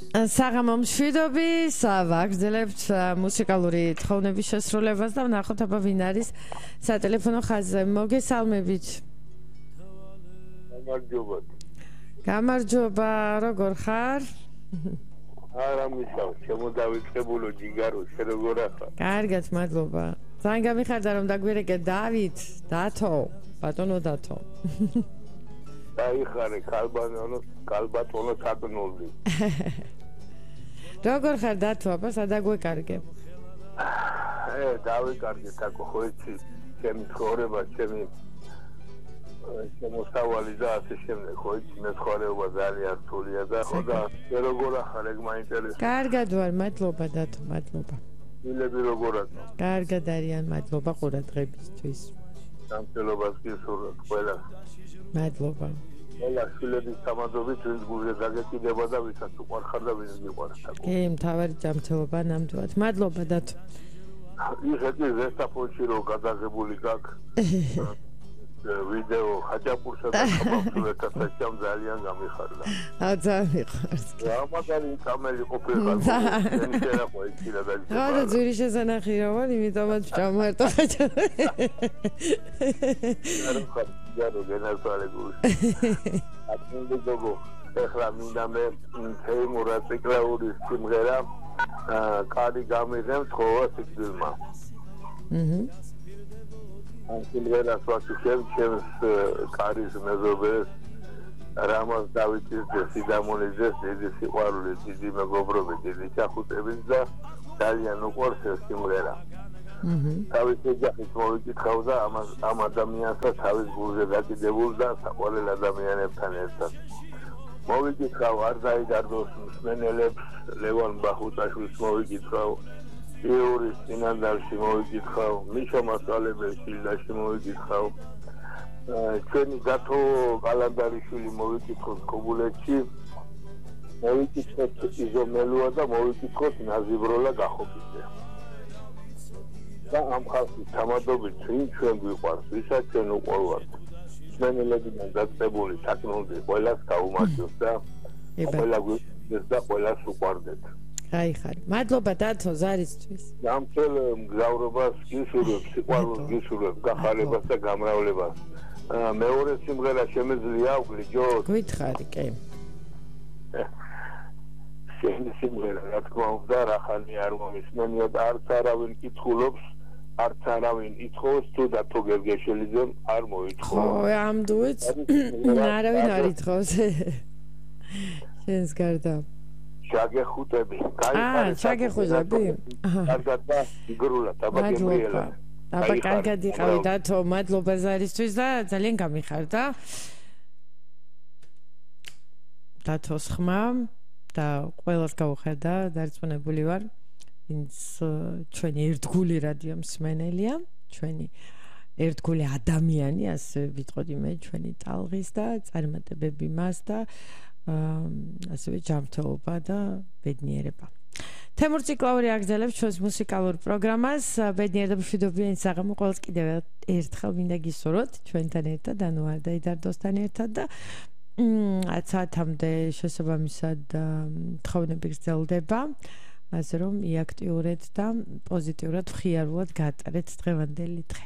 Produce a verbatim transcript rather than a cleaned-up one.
საღამო მშვიდობი, ვაგრძელებთ მუსიკალური თხოვნების შესრულებას და ვნახოთ აბა ვინ არის სატელეფონო ხაზზე. მოგესალმებით. გამარჯობა. გამარჯობა, როგორ ხარ? არა მისავა, შემოდავიწყებულო ჯიგარო, შე როგორ ახარ? კარგად, მადლობა. ძალიან გამიხარდა რომ დაგვირეკე დავით, დათო, ბატონო დათო. დაიხარე კალბატონო, კალბატონო საკნოლი. როგორ ხარ დათო, აბა სადაგვეკარგე? ე, დავიკარგე თაკო ხო იცი, ჩემი ცხოვრება, ჩემი შემოსავალი და ასე შემდეგ, ხო იცი, მე ცხოვრება ძალიან რთულია და ხო და შე როგორ ახარ, ეგ მაინტერესებს. კარგად ვარ, მადლობა დათო, მადლობა. შვილები როგორ ახარ? კარგად არიან, მადლობა ყურადღებისთვის. სამწელობას გისურვებ ყველას. მადლობა. ყველა შვილების სამადლობით ვინც გულზე დაგეკიდება და ვისაც უყვარხარ და ვინც მიყვარს. კი, მთავარი ჯანმრთელობა ნამდვილად. მადლობა დათო. იხეთი ზესტაფონში რო გადაღებული გაქვს ვიდეო ხაჭაპურსა და ხაბავსურეთთან საჭამ ძალიან გამიხარდა. აა ძალიან მიყვარს. რა მაგარი კამელი ყოფილიყარ. შენ შეიძლება იცი რა დაიწყო. რა და ძვირი შესანახი რა ვარ, იმიტომაც ჩამარტო ხაჭაპური. არა ხარ, ჯარო გენასვალე გული. აკინდო გოგო, ეხლა მინდა მე თეიმურა ციკლაურის სიმღერა კარი გამიღებ თხოვა სიკვდილმა. აჰა. ამ სიმღერას ვაკეთებ ჩემს კარის მეზობელს რამაზ დავითის და სიდამონიძეს დიდი სიყვარული, დიდი მეგობრობი, დიდი ჩახუტებით და ძალიან უყვარს ეს სიმღერა. აჰა. თავის ოჯახის მოვიკითხავ და ამ ამ ადამიანსაც თავის გულზე დაკიდებულ და საყვარელ ადამიანებთან ერთად. მოვიკითხავ არ დაიდარდოს მსმენელებს, ლევან ბახუტაშვილს მოვიკითხავ, იურის წინანდალში მოვიკითხავ, მიშა მასალებელს შილდაში მოვიკითხავ, ჩვენი დათო კალანდარიშვილი მოვიკითხოთ ქობულეთში, მოვიკითხოთ იზომელუა და მოვიკითხოთ ნაზიბროლა გახობიძე. და ამ ხალხის თამადობით ვინ ჩვენ გვიყვარს, ვისაც ჩვენ უყვარვართ. მსმენელებიდან დაწყებული საკნოლი ყველას გაუმართლოს და ყველა გვიყვარს და ყველას უყვარდეთ. გაიხარე. მადლობა დათო ზარისთვის. გამწელ მგზავრობას გისურვებ, სიყვარულს გისურვებ, გახარებას და გამრავლებას. მეორე სიმღერა შემეძლია ვგლიჯოთ? გითხარი, კი. შენი სიმღერა რა თქმა უნდა რახანი არ მომისმენია და არც არავინ კითხულობს, არც არავინ ითხოვს თუ დათო გერგეშელიძემ არ მოითხოვა. ხო, ამ დუეტს არავინ არ ითხოვს. შენს გარდა. შაგეხუტები, გაიხარე. აა, შაგეხუტები? კარგად და იგრულად, აბა გემრიელა. აბა კარგად იყავი დათო, მადლობა ზარისთვის და ძალიან გამიხარდა. დათოს ხმა და ყველას გავუხედა, დარწმუნებული ვარ, ვინც ჩვენი ერთგული რადიო მსმენელია, ჩვენი ერთგული ადამიანი, ასე ვიტყოდი მე, ჩვენი ტალღის და წარმატებები მას და ასევე ჯანმრთელობა და ბედნიერება. თემურ ციკლაური აგრძელებს ჩვენს მუსიკალურ პროგრამას. ბედნიერ და მშვიდობიან საღამო ყველას კიდევ ერთხელ მინდა გისურვოთ ჩვენთან ერთად, ანუ არ დაიდარდოსთან ერთად და ათ საათამდე შესაბამისად თხოვნები გრძელდება, ასე რომ იაქტიურეთ და პოზიტიურად, მხიარულად გაატარეთ დღევანდელი დღე.